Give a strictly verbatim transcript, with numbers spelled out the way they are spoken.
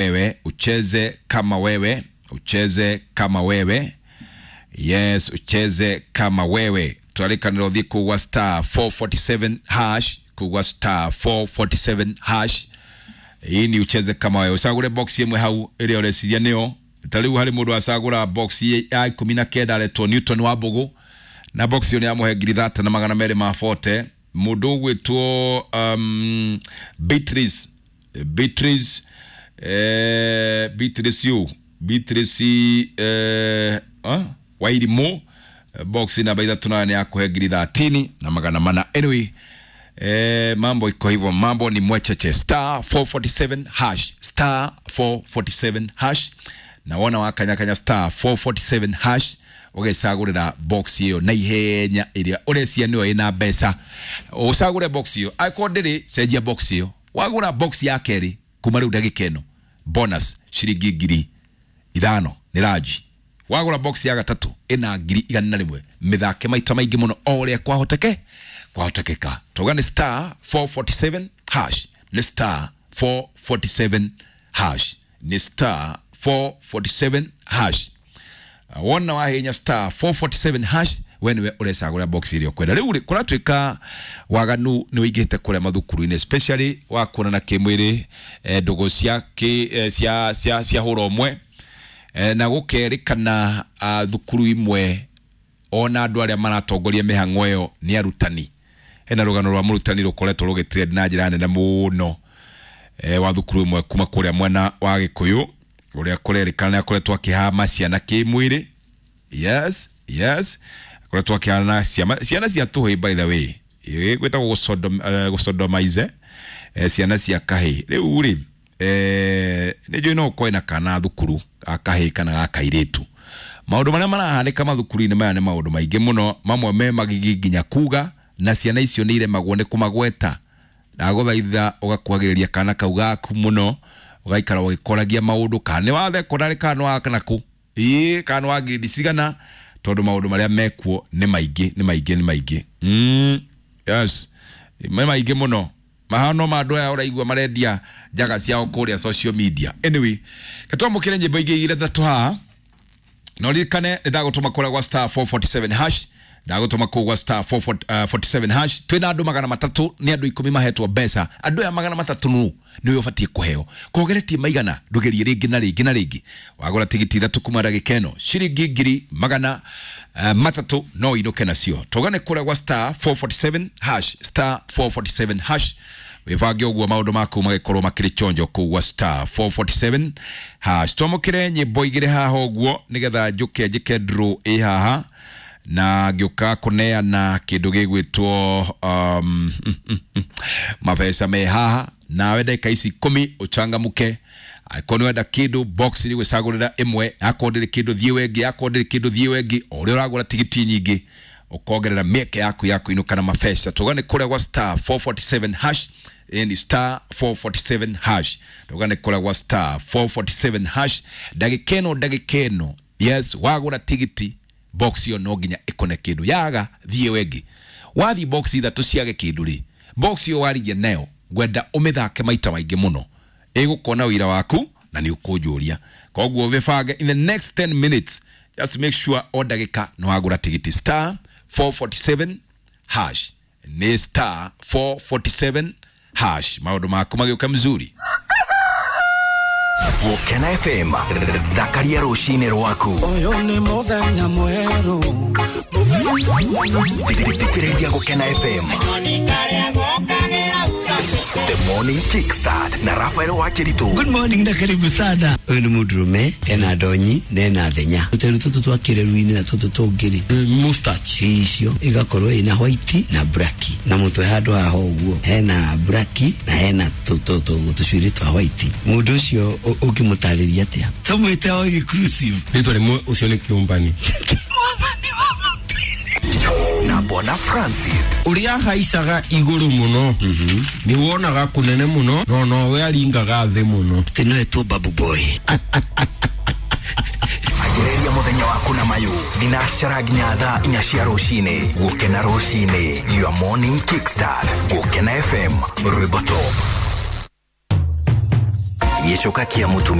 wewe, ucheze kama wewe, ucheze kama wewe. Yes, ucheze kama wewe. Twarikanĩra ũthiĩ kũgwa star four forty-seven hash, kũgwa star four forty-seven hash. Hii ni ucheze kama wewe. Ũcagũre box ĩmwe hau ĩrĩa ũreciria nĩyo. Ta rĩu harĩ mũndũ acagũra box ya ikũmi na kenda aretwo Newton wa Mbũgũ, na box ĩyo nĩ yamũhe ngiri thate na magana merĩ ma forty. Mũndũ ũgwĩtwo um, Beatrice, Beatrice, eh, Beatrice yu, Beatrice, eh, ah, Wairimu, box namba ithatũ nayo nĩ yakũhe ngiri thirteen na magana mana. Anyway, eh, mambo iko hivyo, mambo ni mwecheche. Star four forty-seven hash, star four forty-seven hash. Na wona wakanyakanya star four forty-seven hash ũgecagũrĩra box ĩyo na ihenya ĩrĩa ũrecia nĩyo ĩna mbeca. Ũcagũre box ĩyo, angĩkorwo ndĩrĩ, cenjia box ĩyo. Wagũra box ya kerĩ kuma rĩu ndagĩka ĩno, bonus ciringi ngiri ithano nĩ ranji. Wagũra box ya gatatũ ĩna ngiri igana na rĩmwe. Mĩthake maita maingĩ mũno o ũrĩa kwahoteke kwahotekeka. Tauga nĩ star four forty-seven hash, nĩ star four forty-seven hash, nĩ star four forty-seven hash. Wona wahenya star four forty-seven hash, we nĩwe ũrecagũra box ĩrĩa ũkwenda. Rĩu rĩ, kũratuĩka waganu nĩ ũingĩhĩte kũrĩa mathukuru-inĩ, especially wa kuonana kĩmwĩrĩ, eh, ndũgũ cia kĩ, eh, cia, cia, cia hũra ũmwe, eh, na gũkerĩkana, ah, thukuru imwe ona andũ arĩa maratongoria mĩhang'o ĩyo nĩ arutani. Hena rũgano rwa mũrutani rũkoretwo rũgĩtrend na njĩra nene mũno, eh, wa thukuru ĩmwe kuma kũrĩa mwena wa Gĩkũyũ, ũrĩa kũrerĩkana nĩ akoretwo akĩhama ciana kĩmwĩrĩ. Yes, yes, akoretwo akĩhama ciana, ciana cia tũhĩĩ, by the way, ĩ, gwĩtagwo gũsodom-, eh, gũsodomize, eh, ciana cia kahĩĩ. Rĩu rĩ, eh, nĩ njũĩ no ũkorwo na kana thukuru ga kahĩĩ kana ga kairĩtu. Maũndũ marĩa marahanĩka mathukuru-inĩ maya nĩ maũndũ maingĩ mũno, mamwe me magigi nginya kuga, na ciana icio nĩ iremagwo nĩ kũmagweta. Ndagũthaitha ũgakuhagĩrĩria kana kau gaku mũno, ũgaikara ũgĩkoragia maũndũ, kana nĩ wa thekondarĩ kana nĩ wa kanakũ, ĩĩ, kana nĩ wa grade cigana, tondũ maũndũ marĩa mekuo nĩ maingĩ, nĩ maingĩ, nĩ maingĩ. Mm, yes, nĩ maingĩ mũno. Mahano ma andũ aya ũraigua marendia njaga ciao kũrĩa social media. Anyway, ketwamũkĩre nyĩmbo ingĩ igĩrĩ ithatũ haha. Na ũririkane nĩ ndagũtũma kũrĩa gwa star four forty-seven hash, ndagũtũma kũu gwa star four forty-seven hash. Twĩna andũ magana matatũ, nĩ andũ ikũmi mahetwo mbeca. Andũ aya magana matatũ nũ nĩwe ũbatiĩ kũheo. Kogeretie maigana, ndũgerie rĩngĩ na rĩngĩ na rĩngĩ. Wagũra tigiti ithatũ kuma ndagĩka ĩno, ciringi ngiri magana, eh, matatũ no ũinũke nacio. Tũgane kũrĩa gwa star four forty-seven hash, star four forty-seven hash. Wĩbange ũguo maũndũ maku magĩkorwo makĩrĩ chonjo kũu gwa star four forty-seven hash. Twamũkĩre nyĩmbo igĩrĩ haha ũguo nĩgetha njũke njĩke draw ĩ haha, na ngĩũka kũneana kĩndũ gĩgwĩtwo, um, mabeca me haha. Nawe ndagĩka ici ikũmi ũchangamũke. Angĩkorwo nĩ wenda kĩndũ, box nĩ gwĩcagũrĩra ĩmwe, akorwo ndĩrĩ kĩndũ thiĩ wengĩ, akorwo ndĩrĩ kĩndũ thiĩ wengĩ. O ũrĩa ũragũra tigiti nyingĩ ũkongerera mĩeke yaku ya kũinũka na mabeca. Tũgane kũrĩa gwa star four forty-seven hash, ni star four forty-seven hash. Tũgane kũrĩa gwa star four forty-seven hash. Ndagĩka ĩno, ndagĩka ĩno, yes, wagũra tigiti box ĩyo no nginya ĩkone kĩndũ. Yaga thiĩ wengĩ. Wathiĩ box ithatũ ciage kĩndũ rĩ, box ĩyo waririe nayo ngwenda ũmĩthake maita maingĩ mũno, ĩgũkona wĩra waku na nĩ ũkũnjũria. Koguo wĩbange in the next ten minutes, just make sure o ndagĩka nĩ wagũra tigiti. Star four forty-seven hash, nĩ star four forty-seven hash. Maũndũ maku magĩũka mzuri. Gũkena F M, thakaria rũcinĩ rwaku. Ũyũ nĩ mũthenya mwerũ. Thikĩrĩria Gũkena F M. The Morning Kickstart na Raphael Wakiritu. Good morning na karibu sana. Ũyũ nĩ mũndũrũme, ena ndonyi na ena thenya. Tũteru tũtũ twa kĩreru-inĩ na tũtũ tũngĩ-rĩ, mustache. Icio igakorwo ina white na black. Na mũtwe handũ haha ũguo hena black na hena tũcuĩrĩ twa white. Mũndũ ũcio ũngĩmũtarĩria atĩa? Tũmwĩte o inclusive. Rĩtwa rĩmwe ũcio nĩ kĩũmbani. Na Bwana Francis. Ũrĩa ahaicaga igũrũ mũno, Mhm. nĩ wonaga kũnene mũno, no nowe aringaga thĩ mũno. Atĩ no etwo Babu Boy. Anjĩrĩria mũthenya waku na mayũ thinacara nginya thaa inya cia rũcinĩ. Gũkena rũcinĩ, your morning kickstart. Gũkena F M, rwĩmbo top. Gĩcoka kĩa mũtumia.